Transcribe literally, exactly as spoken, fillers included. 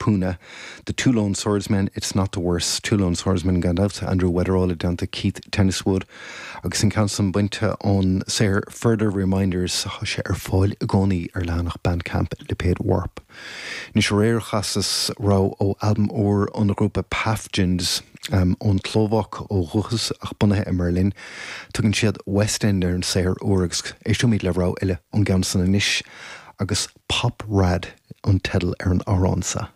Puna, The Two Lone Swordsmen, It's Not the Worst, Two Lone Swordsmen gan dabht, Andrew Weatherall i dteannta Keith Tenniswood, agus an ceann san bainte ón saothar Further Reminders tá sé ar fáil i gcónaí ar leathanach Bandcamp Lipéad Warp. Anois aréir chasas rogha ó albam úr ón ghrúpa Paphjins um, ón tSlóvaic ó dhúchas ach bunaithe i mBerlin, tugann siad West End ar an saothar úr agus éistfimid le rogha eile ón gceann san anois agus Pop Rad an teideal ar an amhrán seo.